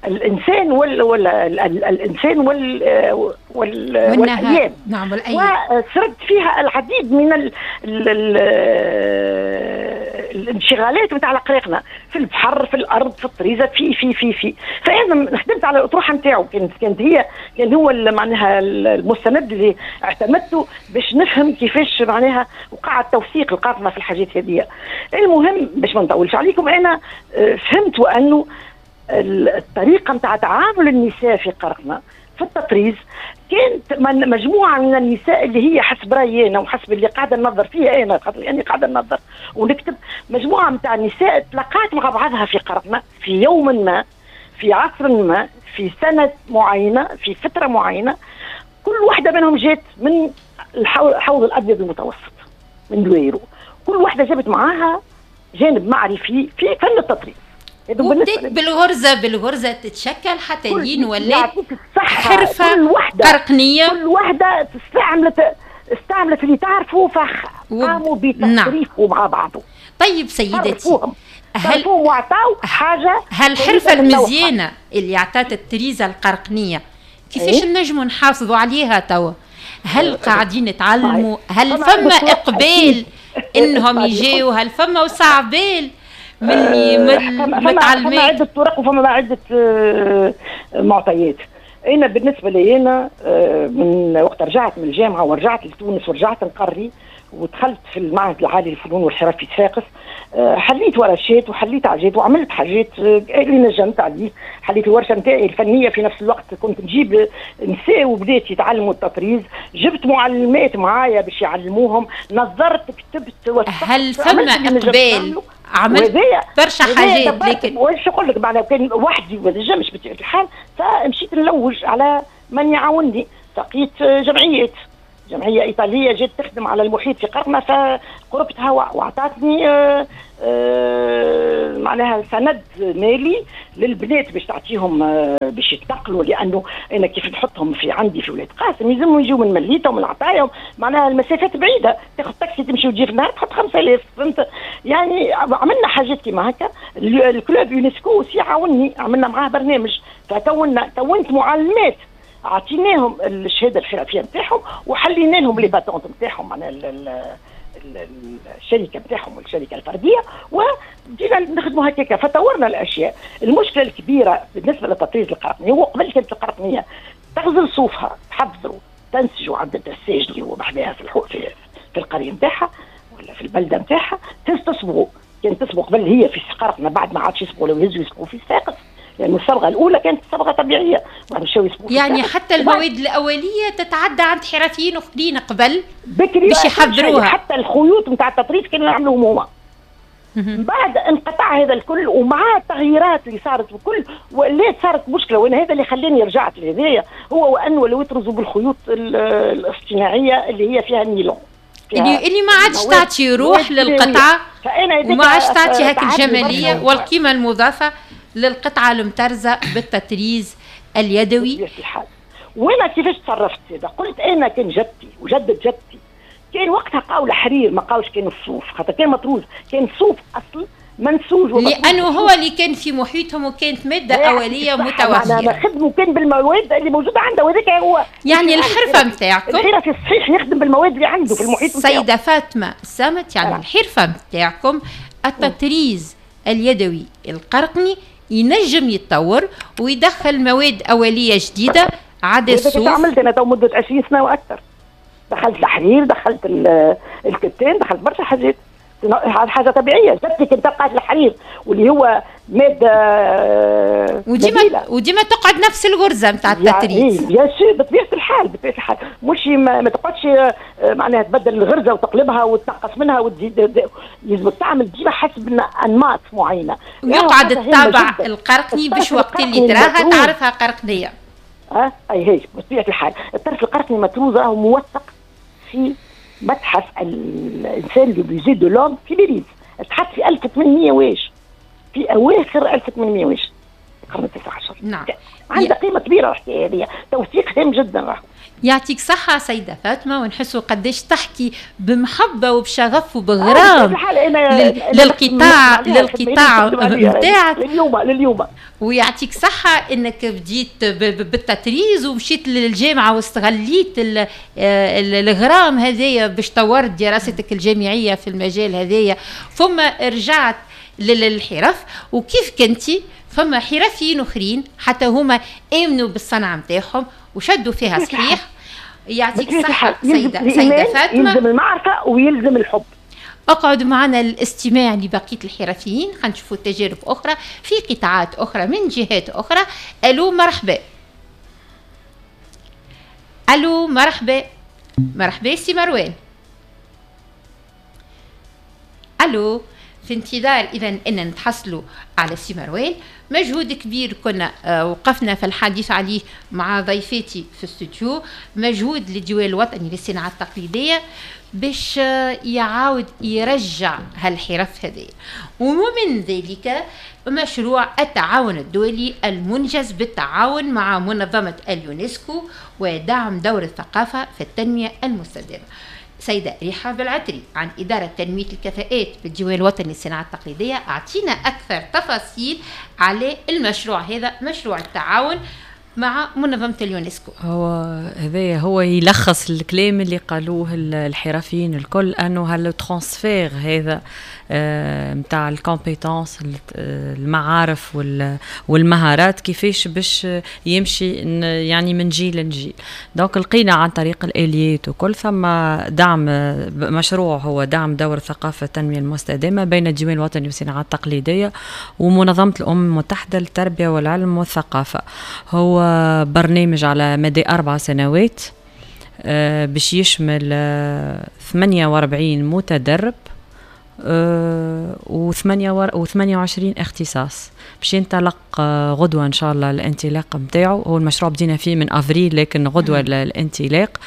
الانسان وال ولا الانسان وال وال والايام. نعم والايام. وسرد فيها العديد من ال ال ال الانشغالات نتاع قريقنا في البحر، في الارض، في الطريزه، في في في في فانا خدمت على الاطروحه نتاعو، كانت كانت هي كان هو معناها المستند اللي اعتمدته باش نفهم كيفاش معناها وقع التوثيق القرقنه في الحاجات هذه. المهم باش ما نطولش عليكم، انا فهمت وانه الطريقة نتاع تعامل النساء في قرقنة في التطريز كانت مجموعة من النساء اللي هي حسب رأيي أنا وحسب اللي قاعدة ننظر فيها أنا، خاطر أنا قاعدة ننظر ونكتب، مجموعة نتاع النساء تلاقات مع بعضها في قرقنة في يوم ما، في عصر ما، في سنة معينة، في فترة معينة. كل واحدة منهم جات من الحوض الأبيض المتوسط من دويرو، كل واحدة جابت معاها جانب معرفي في فن التطريز. وبدأت بالغرزة بالغرزة تتشكل حتى لين ولات حرفة قرقنية. كل واحدة استعملت استعملت اللي تعرفه فقاموا بتصريفه مع بعضه. طيب سيدتي، هل وعطاو حاجة هالحرفة المزيانة اللي عطات التريزة القرقنية كيفاش إيه؟ نجموا نحافظوا عليها توا؟ هل قاعدين نتعلموا؟ هل فما إقبال إنهم يجيو؟ هل فما وسع بال من من متعلمات؟ فما عدة طرق وفما عدة معطيات. أنا بالنسبة لي أنا من وقت رجعت من الجامعة ورجعت لتونس ورجعت نقري ودخلت في المعهد العالي للفنون والحرف في صفاقس، حليت ورشات وحليت حاجات وعملت حاجات اللي نجمت عليه. حليت الورشة نتاعي الفنية في نفس الوقت، كنت نجيب نساء وبنات يتعلموا التطريز، جبت معلمات معايا باش يعلموهم، نظرت كتبت وثقت. هل فما اقبال؟ عملت برشا حاجات، لكن واش نقول لك معناها كان وحدي ما نجمش بطبيعة الحال، فمشيت نلوج على من يعاونني. لقيت جمعيات، جمعية ايطالية جات تخدم على المحيط في قرنه، فقربتها واعطتني آه، آه، معناها سند مالي للبنات باش تعطيهم آه، باش يتنقلوا، لانه انا كيف نحطهم في عندي في ولاد قاسم يلزمهم يجيو من مليته ومن عطايا، معناها المسافات بعيدة، تاخذ تاكسي تمشي وتجي في النهار تحط خمسة آلاف، فهمت؟ يعني عملنا حاجات كيما هكا. ال club يونسكو aussi عاوني، عملنا معاه برنامج، فكونا كونت معلمات اعطيناهم الشهادة الحرفية نتاعهم وحلينا لهم les patentes نتاعهم، معناها الشركة نتاعهم والشركة الفردية، وبدينا نخدموا هكاك فطورنا الاشياء. المشكلة الكبيرة بالنسبة للتطريز القرقني هو قبل كانت القرقنيه تغزل صوفها، تحضروا، تنسجوا عند الدساج اللي هو بحذاها في الحو في, في القرية نتاعها ولا في البلدة نتاعها، تصبغوا. كانت تصبغ قبل هي في قرقنه، بعد ما عادش يصبغوا، لو يهزوا يصبغوا في صفاقس، لأن يعني الصبغة الأولى كانت صبغة طبيعية، يعني حتى المواد الأولية تتعدى عند حرفيين أخرين قبل باش يحضروها، حتى الخيوط نتاع التطريز كانوا يعملوهم هما. من بعد انقطع هذا الكل، ومع التغييرات اللي صارت وكل ولات صارت مشكلة، وأنا هذا اللي خلاني رجعت لهذايا هو وأنه ولاو يطرزوا بالخيوط الاصطناعية اللي هي فيها النيلون، اللي اللي ما عادش تعطي روح للقطعة، وما عادش تعطي هاك الجمالية والقيمة المضافة للقطعة المترزة بالتطريز اليدوي. وانا كيفاش تصرفت هذا؟ قلت انا كان جدتي وجدة جدتي كان وقتها قاو الحرير، ما قاوش كان الصوف، خاطر كان مطروز، كان صوف اصل منسوج، لانه هو اللي كان في محيطهم وكانت مادة اوليه متوفرة. خدموا كان بالمواد اللي موجودة عنده، وهذاك هو يعني الحرفة نتاعكم. الحرفة الصحيح يخدم بالمواد اللي عنده في المحيط نتاعو. سيده فاطمة السمت، يعني الحرفة نتاعكم التطريز اليدوي القرقني ينجم يتطور ويدخل مواد اوليه جديدة عدا الصوف. عملت انا تو مده عشرين سنة واكثر، دخلت الحرير، دخلت الكتان، دخلت برشا حاجات. حاجة طبيعية. جاتك انت تلقى الحرير واللي هو مادة وديما وديما تقعد نفس الغرزه نتاع التطريز. bien sûr بطبيعة الحال، بطبيعة الحال مش ما, ما تقعدش معناها تبدل الغرزه وتقلبها وتنقص منها وتزيد، لازمك تعمل ديما حسب انماط معينة. ويقعد الطابع القرقني باش وقت اللي تراها تعرفها قرقنيه. اه اي هي بطبيعة الحال الطرف القرقني مطروز راهو موثق في متحف الانسان le musée de l'homme في باريس، تحط في ألف وثمانمية واش في اواخر ألف وثمانمية واش القرن التاسع عشر. نعم عندها قيمة كبيرة الحكاية هذه، توثيق هام جدا راهو. يعطيك صحة سيدة فاطمة، ونحسوا قداش تحكي بمحبة وبشغف وبغرام لل... للقطاع للقطاع نتاعك لليوم لليوم. ويعطيك صحة انك بديت بالتطريز ومشيت للجامعة واستغليت الغرام هذايا باش طورت دراستك الجامعية في المجال هذايا، ثم رجعت للحرف. وكيف كنتي فما حرفيين اخرين حتى هما امنوا بالصنعة نتاعهم وشدوا فيها صحيح. يعطيك صحة سيدة سيدة فاطمة. يلزم المعرفة ويلزم الحب. اقعدوا معنا الاستماع لبقية الحرفيين، خنشوفوا تجارب أخرى في قطاعات أخرى من جهات أخرى. ألو مرحبا. ألو مرحبا. مرحبا سي مروان. ألو، في انتظار إذا أن نتحصلوا على سي مروان. مجهود كبير كنا وقفنا في الحديث عليه مع ضيفاتي في الاستوديو، مجهود للديوان الوطني للصناعة التقليدية باش يعاود يرجع هالحرف هذه، ومن ذلك مشروع التعاون الدولي المنجز بالتعاون مع منظمة اليونسكو ودعم دور الثقافة في التنمية المستدامة. سيدة رحاب العطري عن إدارة تنمية الكفاءات بالديوان الوطني للصناعة التقليدية، أعطينا أكثر تفاصيل على المشروع هذا، مشروع التعاون مع منظمة اليونسكو. هو هذا هو يلخص الكلام اللي قالوه الحرفيين الكل، أنه هال transfert هذا نتاع ال compétences، المعارف والمهارات كيفاش باش يمشي يعني من جيل لجيل. donc لقينا عن طريق الاليات وكل ثم دعم مشروع هو دعم دور الثقافة التنمية المستدامة بين الديوان الوطني والصناعة التقليدية ومنظمة الامم المتحدة للتربية والعلم والثقافة. هو برنامج على مدى اربع سنوات باش يشمل ثمانية وأربعين متدرب وثمانية وعشرين اختصاص، باش ينطلق غدوة إن شاء الله الانطلاق متاعه. هو المشروع بدينا فيه من أفريل، لكن غدوة الانطلاق.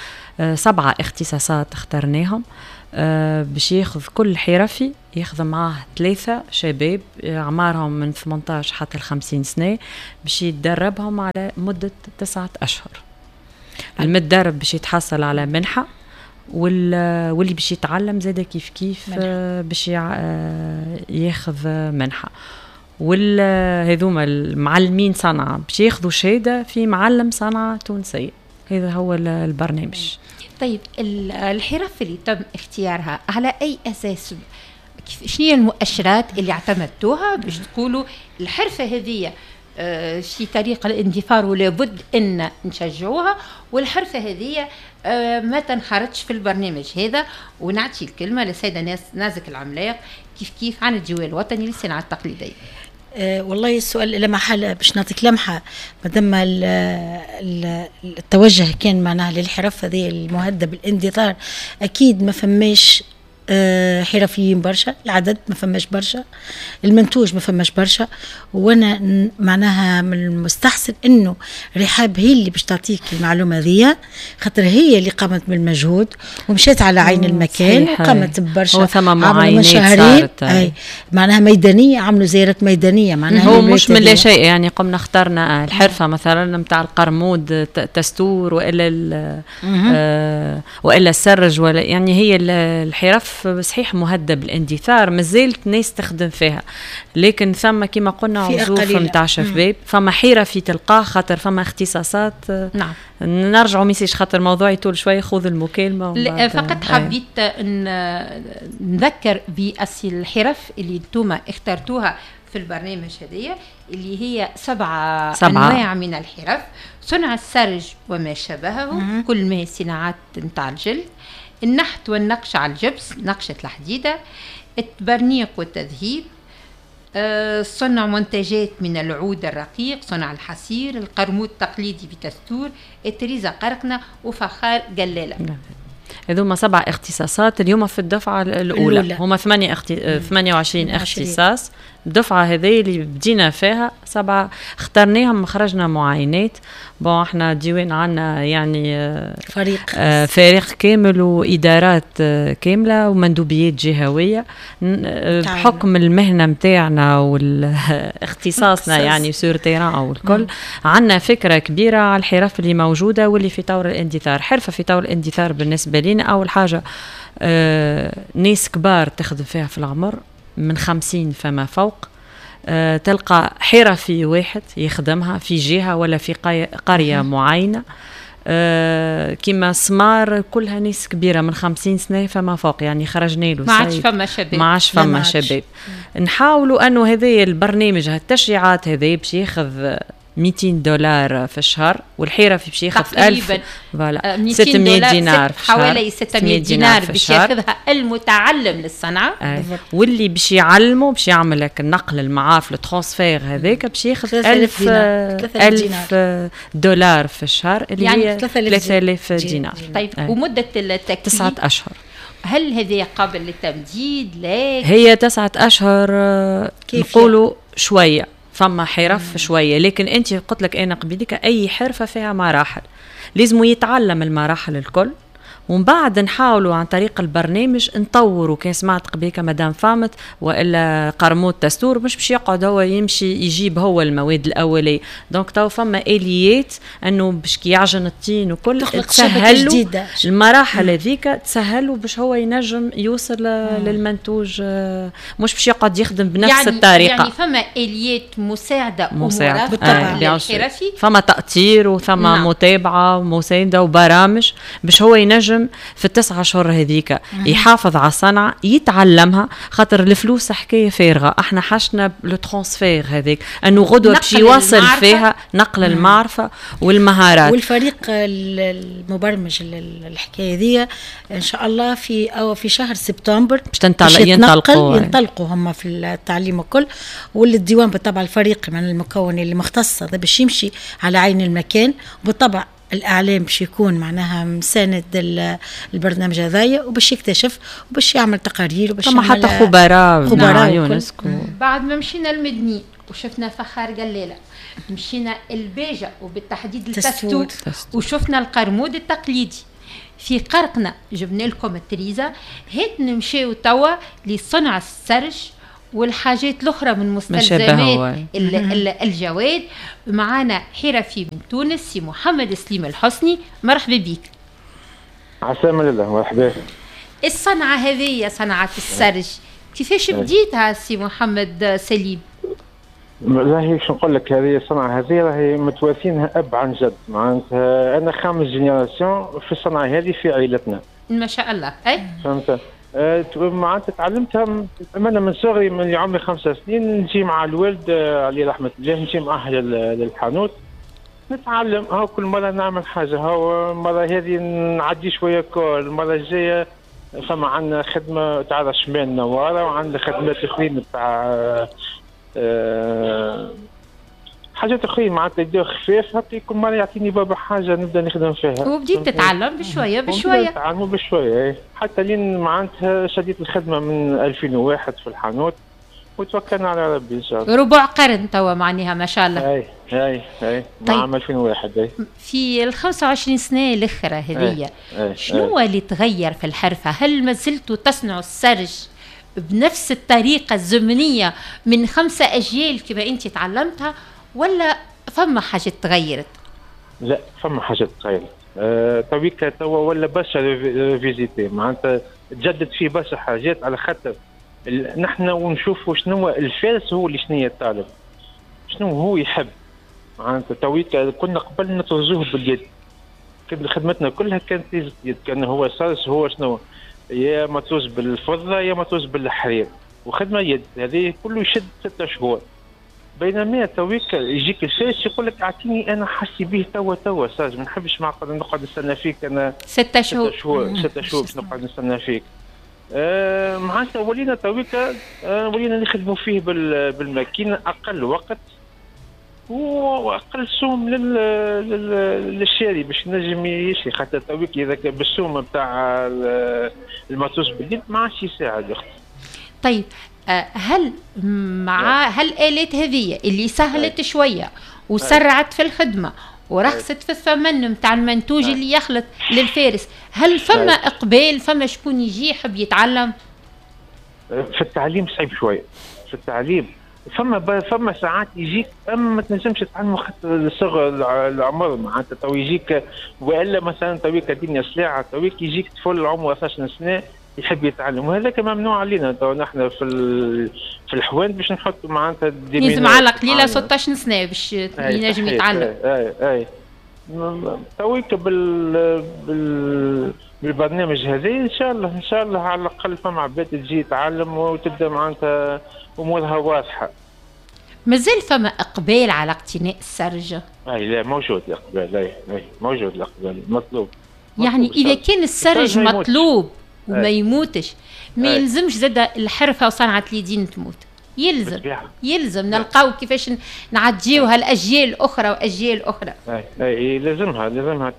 سبعة اختصاصات اخترناهم باش ياخذ كل حرفي ياخذ معاه ثلاثة شباب أعمارهم من ثمانية عشر حتى الخمسين سنة باش يتدربهم على مدة تسعة أشهر. المتدرب باش يتحصل على منحة، واللي باش يتعلم زاده كيف كيف باش ياخذ منحة. وهذوما المعلمين صنعة باش ياخذوا شهادة في معلم صنعة تونسية. هذا هو البرنامج. طيب الحرف اللي تم اختيارها على أي أساس؟ شنو هي المؤشرات اللي اعتمدتوها باش تقولوا الحرفة هذه في طريق الاندثار ولابد أن نشجعوها، والحرفة هذه ما تنخرطش في البرنامج هذا؟ ونعطي الكلمة للسيدة نازك العملاق كيف كيف عن الديوان الوطني للصناعة التقليدية. أه والله السؤال لا محالة باش نعطيك لمحة، مادام التوجه كان معناها للحرف هذه المهددة بالاندثار، أكيد ما فماش أه حرفيين برشا، العدد ما فماش برشا، المنتوج ما فماش برشا. وانا معناها من المستحسن انه رحاب هي اللي باش تعطيك المعلومة ذي، خاطر هي اللي قامت بالمجهود ومشات على عين المكان وقامت ببرشا، عملوا صارت اي معناها ميدانية، عملوا زيارات ميدانية معناها هو مش من لا شيء. يعني قمنا اخترنا الحرفة مثلا نتاع القرمود تستور والا آه والا السرج، ولا يعني هي الحرف صحيح مهدد بالاندثار، مازالت ناس تخدم فيها، لكن ثم كما قلنا عزوف نتاع شباب، فما حرفي تلقاه خاطر فما اختصاصات. نعم نرجعوا ميسيش خاطر موضوعي طول شوي، خذ المكالمة. لا فقط حبيت ان نذكر بالحرف اللي انتم اخترتوها في البرنامج هذيا، اللي هي سبعة, سبعة أنواع من الحرف: صنع السرج وما شابهه، كل ما هي صناعات نتاع الجلد، النحت والنقش على الجبس، نقشة الحديدة، التبرنيق والتذهيب، صنع منتجات من العود الرقيق، صنع الحصير، القرمود التقليدي بتستور، التريزة قرقنة، وفخار قلالة. هذوما سبع اختصاصات اليوم في الدفعة الأولى, الأولى. هما ثمانية اخت... ثمانية وعشرين اختصاص. الدفعة هذه اللي بدينا فيها سبعة اخترناهم، خرجنا معاينات. bon احنا ديوان عنا يعني فريق آه فريق كامل وإدارات آه كاملة ومندوبيات جهوية بحكم المهنة متاعنا والاختصاصنا يعني sur terrain والكل، عنا فكرة كبيرة على الحرف اللي موجودة واللي في طور الاندثار. حرفة في طور الاندثار بالنسبة لنا أول حاجة آه ناس كبار تخدم فيها في العمر من خمسين فما فوق، أه تلقى حرفي واحد يخدمها في جهة ولا في قرية معينة، أه كما سمار كلها ناس كبيرة من خمسين سنة فما فوق، يعني خرجنا له ما عادش فما شباب، ما عادش فما شباب. نحاولوا أنه هذا البرنامج هالتشجيعات هذا باش ياخذ مئتين دولار في الشهر، والحرفي باش ياخذ ألف voilà ستمية دينار في الشهر، حوالي ستمية دينار باش ياخذها المتعلم للصنعه. آه. واللي باش يعلمه باش يعمل لك النقل المعارف ال transfert هذاك باش ياخذ ألف ألف دولار في الشهر اللي يعني هي ثلاثة آلاف دينار. طيب آه. ومده التكوين تسعة أشهر. هل هذه قابل للتمديد؟ لا، هي تسعة أشهر نقولوا شوية فما حرف شوية، لكن انت قلت لك انا قبيلك اي حرفه فيها مراحل لازم يتعلم المراحل الكل، ومن بعد نحاولوا عن طريق البرنامج نطوروا. كان سمعت قبيلك مدام فامت والا قرمود تستور مش باش يقعد هو يمشي يجيب هو المواد الاولية، donc تو فما اليات انه باش كي يعجن الطين وكل تسهلوا المراحل هذيك، تسهلوا باش هو ينجم يوصل مم. للمنتوج، مش باش يقعد يخدم بنفس يعني الطريقة. يعني فما اليات مساعدة ومرافقة بالطبع للحرفي، فما تاطير وثم نعم. متابعه ومسانده وبرامج باش هو ينجم في التسعة شهور هذيك يحافظ على الصنعة يتعلمها، خاطر الفلوس حكاية فارغة. احنا حشنا le transfert هذيك انه غدوة باش يواصل فيها نقل المعرفة والمهارات. والفريق المبرمج الحكاية ذي ان شاء الله في او في شهر سبتمبر باش تنطلق ينطلقوا ينطلقوا هم في التعليم الكل، والديوان بالطبع الفريق من المكون اللي مختص هذا باش يمشي على عين المكان، وبالطبع الإعلام باش يكون معناها مساند البرنامج هذايا، وباش يكتشف وباش يعمل تقارير وباش يعمل حتى خبراء خبراء يونسكو. بعد ما مشينا المدني وشفنا فخار قلالة، مشينا الباجة وبالتحديد التستور، وشفنا القرمود التقليدي في قرقنا، جبنا لكم التريزة. هات نمشيو توا لصنع السرج والحاجات الأخرى من مستلزمات الجواد. معانا حرفي من تونس سي محمد سليم الحسني، مرحبا بك. عسلامة لله، مرحبا. الصنعة هذه صنعة السرج كيفاش بديتها سي محمد سليم؟ راهي شو نقول لك، هذه الصنعة هذه راهي متوارثينها أب عن جد، معناتها أنا خامس génération في الصنعة هذه في عائلتنا. ما شاء الله. أي فهمت؟ معناتها تعلمتها أنا من صغري، من عمري خمسة سنين نجي مع الوالد عليه رحمة الله، نجي معاه للحانوت نتعلم. هاو كل مرة نعمل حاجة، هاو المرة هذه نعدي شوية colle، المرة الجاية فما عندنا خدمة تاع رشمان نوارة، وعندنا خدمات أخرين تاع أه حاجات اخرين معناتها يديو خفاف. هكا كل مرة يعطيني بابا حاجة نبدا نخدم فيها، وبديت تتعلم بشوية بشوية. نتعلموا بشوية حتى لين معناتها شديت الخدمة من ألفين وواحد في الحانوت، وتوكلنا على ربي ان شاء الله. ربع قرن توا معناها ما شاء الله. اي اي اي طيب. عام ألفين وواحد. اي في ال خمسة وعشرين سنة الاخرى هذيا شنو اللي تغير في الحرفة؟ هل ما زلتوا تصنعوا السرج بنفس الطريقة الزمنية من خمسة اجيال كما انت تعلمتها، ولا فما حاجة تغيرت؟ لا فما حاجة تغيرت. أه تويكا توا ولا برشا revisité، معناتها تجدد فيه برشا حاجات، على خاطر نحن ونشوفوا شنو الفارس هو اللي شنو الطالب شنو هو يحب. معناتها تويكا كنا قبل نطرزوه باليد، خدمتنا كلها كانت باليد، كان هو سارس هو شنو يا مطروز بالفضه يا مطروز بالحرير، وخدمه يد هذه كله يشد ستة شهور. بينما تويك يجيك الفارس يقول لك اعطيني انا حاسي به توا توا ساج، ما نحبش معقد نقعد نستنى فيك انا ستة شهور ستة شهور ستة شهور باش نقعد نستنى فيك. آه معناتها ولينا تويكا آه ولينا نخدموا فيه بالماكينه اقل وقت واقل سوم لل... لل... للشاري باش نجم يشري، خاطر تويك اذا كان بالسوم نتاع الماتوس باليد ما عادش يساعد اختي. طيب هل مع هالآلات هذه اللي سهلت شوية وسرعت في الخدمة ورخصت في الثمن نتاع المنتوج اللي يخلط للفارس، هل فما إقبال، فما شكون يجي يحب يتعلم؟ في التعليم صعيب شوية، في التعليم فما فما ساعات يجيك اما ما تنجمش تعلمه خاطر صغر العمر، معناتها تو يجيك والا مثلا تويك الدنيا سلاعه، تويك يجيك طفل عمره اثناش سنة يحب يتعلم، وهذاك ممنوع علينا تو نحن في في الحوان باش نحطوا معناتها لازم على قليله ستة عشر سنة باش ينجم يتعلم. اي اي تويك بال بال بالبرنامج هذا ان شاء الله ان شاء الله على الاقل فما عباد تجي تتعلم وتبدا معناتها امورها واضحة. مازال فما اقبال على اقتناء السرج؟ اي لا موجود الاقبال، اي اي موجود الاقبال مطلوب. يعني اذا كان السرج مطلوب وما يموتش، ما يلزمش زاد الحرفة وصنعه اليدين تموت، يلزم يلزم نلقاو كيفاش نعديوها الاجيال الاخرى واجيال اخرى. اي اي لازمها لازمها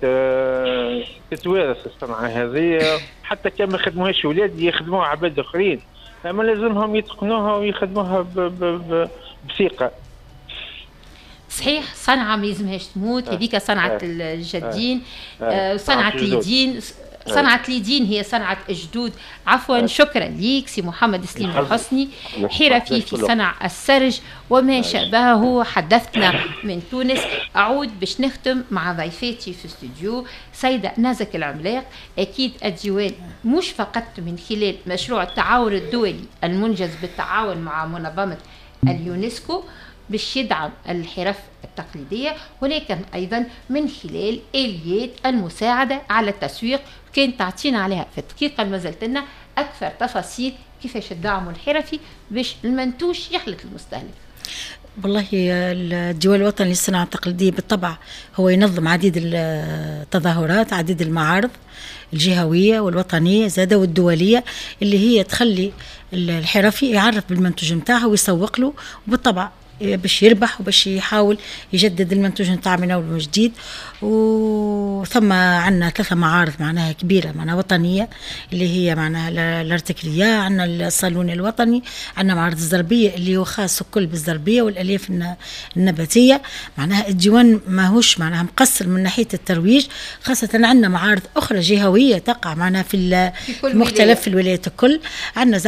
تتوارث الصنعة هذه، حتى كان ما يخدموهاش ولاد يخدموها عباد اخرين، اما لازمهم يتقنوها ويخدموها بثقة. صحيح، صنعه ما يلزمهاش تموت، هذيك صنعه الجدين، صنعه اليدين، صنعة اليدين هي صنعة الجدود. عفوا. شكرا ليك سي محمد سليم الحسني، حرفي في صنع السرج وما شابهه، حدثنا من تونس. أعود باش نختم مع ضيفاتي في الاستوديو سيدة نازك العملاق. أكيد الديوان مش فقط من خلال مشروع التعاون الدولي المنجز بالتعاون مع منظمة اليونسكو باش يدعم الحرف التقليدية، ولكن أيضا من خلال آليات المساعدة على التسويق. كان تعطينا عليها في الدقيقة اللي مازالت لنا أكثر تفاصيل كيفاش الدعم الحرفي باش المنتوج يخلط المستهلك. والله الديوان الوطني للصناعة التقليدية بالطبع هو ينظم عديد التظاهرات، عديد المعارض الجهوية والوطنية زادة والدولية، اللي هي تخلي الحرفي يعرف بالمنتوج نتاعه ويسوق له، وبالطبع باش يربح وباش يحاول يجدد المنتوج نتاع من اول وجديد. وثم عندنا ثلاثة معارض معناها كبيرة معناها وطنية، اللي هي معناها الارتكريه، عندنا الصالون الوطني، عندنا معرض الزربيه اللي هو خاص الكل بالزربيه والالياف النباتية. معناها الديوان ماهوش معناها مقصر من ناحية الترويج، خاصة عندنا معارض اخرى جهويه تقع معناها في, في مختلف الولايات الكل. عندنا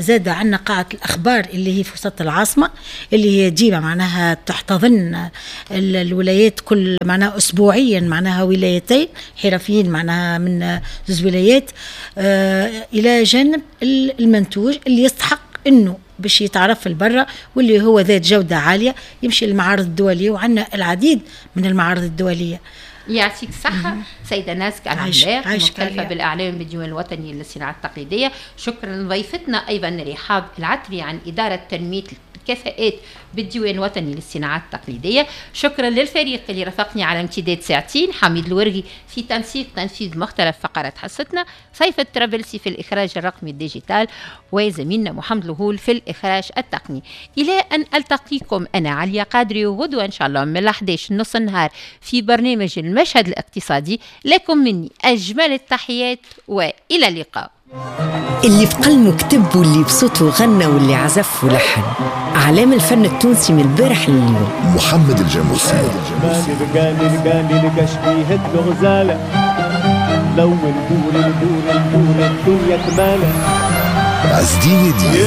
زاد عندنا قاعة الاخبار اللي هي في وسط العاصمة، اللي هي ديما معناها تحتضن الولايات كل معناها اسبوعيا، معناها ولايتين حرفيين معناها من زوج ولايات، آه الى جانب المنتوج اللي يستحق انه باش يتعرف البرة واللي هو ذات جودة عالية يمشي للمعارض الدولية، وعندنا العديد من المعارض الدولية. يعطيك الصحة سيدة نازك العملاق، مكلفة بالإعلام بالديوان الوطني للصناعة التقليدية. شكرا لضيفتنا أيضا رحاب العتري عن إدارة تنمية الكفاءات بالديوان الوطني للصناعات التقليدية. شكرا للفريق اللي رافقني على امتداد ساعتين، حميد الورغي في تنسيق تنفيذ مختلف فقرات حصتنا، سيف الترابلسي في الإخراج الرقمي ال digital، وزميلنا محمد الهول في الإخراج التقني. إلى أن ألتقيكم أنا عليا قادري وغدوة إن شاء الله من الأحد عشر نص النهار في برنامج المشهد الاقتصادي. لكم مني أجمل التحيات وإلى اللقاء. اللي في قلمه كتب واللي بصوته غنى واللي عزف ولحن، أعلام الفن التونسي من البارح لليوم. محمد الجاموسي. عزدين دي.